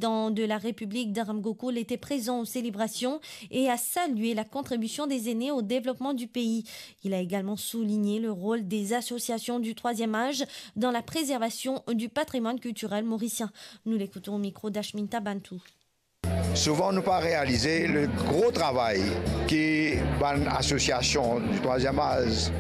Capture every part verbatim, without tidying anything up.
président de la République, Dharam Gokul, était présent aux célébrations et a salué la contribution des aînés au développement du pays. Il a également souligné le rôle des associations du troisième âge dans la préservation du patrimoine culturel mauricien. Nous l'écoutons au micro d'Ashminta Bantou. Souvan nou pa realize le gro travay ki bann asosiasion di trwaziem az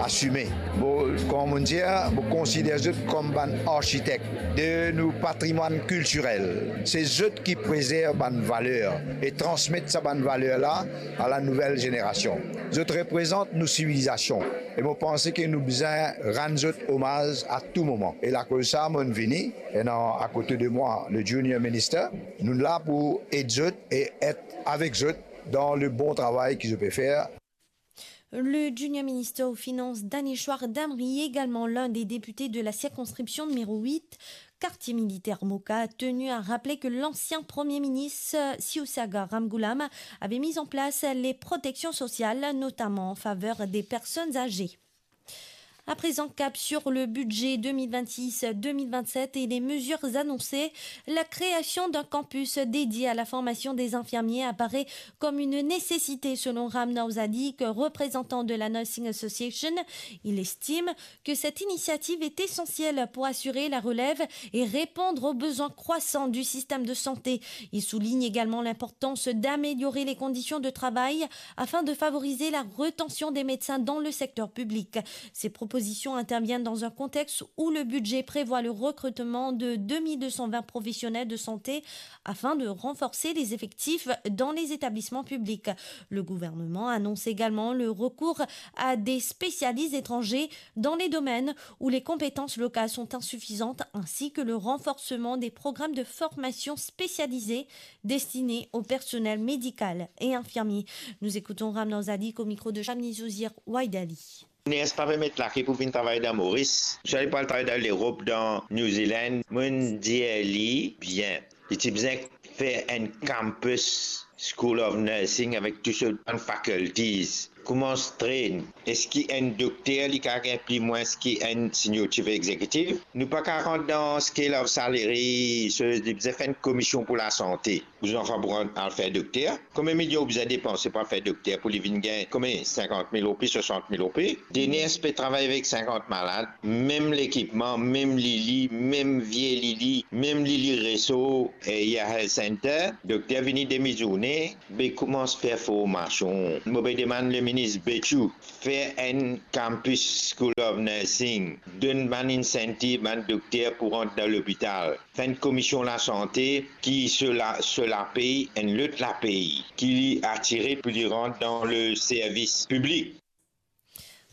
asime. Mo, kouma mo dir, mo konsider zot kom bann arkitek de nou patrimwann kiltirel. Se zot ki prezerv bann valer e transmet sa bann valer la a la nouvel zenerasion. Zot reprezant nou sivilizasion e mo panse ke nou bizin rann zot omaz a tou moman. E lakoz sa, mo'nn vini, ena akote de mwa le junior minister. Nou la pou ed zot e et avek zot dan le bon travay ki zot pe fer. Le junior minister aux Finances, Daneshwar Damri, également l'un des députés de la circonscription numéro huit, quartier militaire Moka, a tenu à rappeler que l'ancien premier ministre Sivasagar Ramgoolam avait mis en place les protections sociales, notamment en faveur des personnes âgées. À présent, cap sur le budget deux mille vingt-six deux mille vingt-sept et les mesures annoncées. La création d'un campus dédié à la formation des infirmiers apparaît comme une nécessité selon Ram Nawzadique, représentant de la Nursing Association. Il estime que cette initiative est essentielle pour assurer la relève et répondre aux besoins croissants du système de santé. Il souligne également l'importance d'améliorer les conditions de travail afin de favoriser la rétention des médecins dans le secteur public. Ces propositions interviennent dans un contexte où le budget prévoit le recrutement de deux mille deux cent vingt professionnels de santé afin de renforcer les effectifs dans les établissements publics. Le gouvernement annonce également le recours à des spécialistes étrangers dans les domaines où les compétences locales sont insuffisantes, ainsi que le renforcement des programmes de formation spécialisée destinés au personnel médical et infirmier. Nous écoutons Ram Nawzadique au micro de Shamni Zouzir Waidali. Ners pa pe met lake pou vinn travay dan Moris. Sa li pou al travay dan Lerop, dan New Zealand. Mo'nn dir li bien, li ti bizin fer enn campus School of Nursing avek tou so bann faculties. Koumans train. Eski enn dokter li kapav gagn pli mwins ki enn senior chief executive? Nou pa kapav rant dan scale of salary, so li bizin fer enn komision pou lasante. Ou zanfan pou al fer dokter, konbien milion ou bizin depanse pou al fer dokter pou li vinn gagn konbien? Sinkant mil roupi, swasant mil roupi. Denis pe travay avek sinkant malad, mem lekipman, mem lili, mem vie lili, mem lili reso, e Yehaya Health Centre. Dokter vini demi zourne, be koumans fer formasion. Mo pe demann leminis Bechoo fer enn campus School of Nursing, donn bann incentive bann dokter pou rant dan lopital. Fer enn komision lasante ki so la, so lapey, enn lot lapey ki li atire pou li rant dan le servis piblik.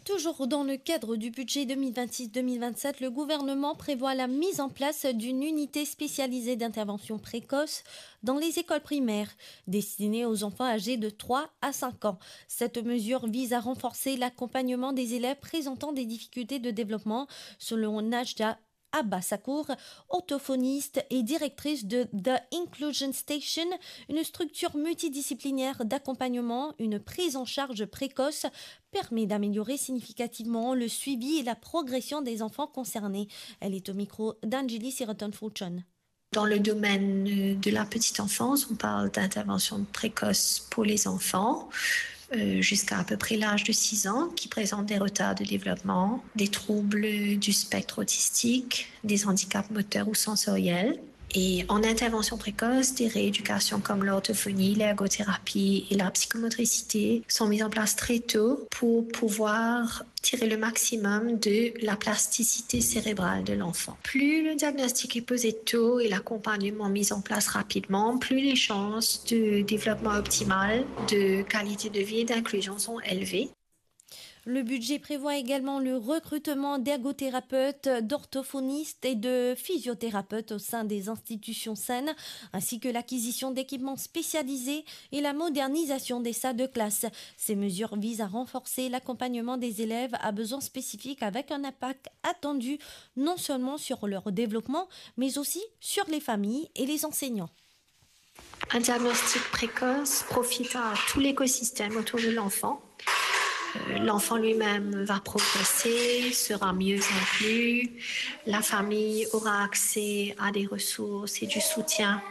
Toujours dans le cadre du budget deux mille vingt-six deux mille vingt-sept, le gouvernement prévoit la mise en place d'une unité spécialisée d'intervention précoce dans les écoles primaires, destinée aux enfants âgés de trois à cinq ans. Cette mesure vise à renforcer l'accompagnement des élèves présentant des difficultés de développement, selon Najda Abbasakour, orthophoniste et directrice de The Inclusion Station, une structure multidisciplinaire d'accompagnement. Une prise en charge précoce permet d'améliorer significativement le suivi et la progression des enfants concernés. Elle est au micro d'Anjali Siraton Fouchon. Dans le domaine, euh, de la petite enfance, on parle d'intervention précoce pour les enfants, euh, jusqu'à à peu près l'âge de six ans, qui présentent des retards de développement, des troubles du spectre autistique, des handicaps moteurs ou sensoriels. Et en intervention précoce, des rééducations comme l'orthophonie, l'ergothérapie et la psychomotricité sont mises en place très tôt pour pouvoir tirer le maximum de la plasticité cérébrale de l'enfant. Plus le diagnostic est posé tôt et l'accompagnement mis en place rapidement, plus les chances de développement optimal, de qualité de vie et d'inclusion sont élevées. Le budget prévoit également le recrutement d'ergothérapeutes, d'orthophonistes et de physiothérapeutes au sein des institutions saines, ainsi que l'acquisition d'équipements spécialisés et la modernisation des salles de classe. Ces mesures visent à renforcer l'accompagnement des élèves à besoins spécifiques avec un impact attendu non seulement sur leur développement, mais aussi sur les familles et les enseignants. Un diagnostic précoce profite à tout l'écosystème autour de l'enfant. Euh, l'enfant lui-même va progresser, sera mieux inclus. La famille aura accès à des ressources et du soutien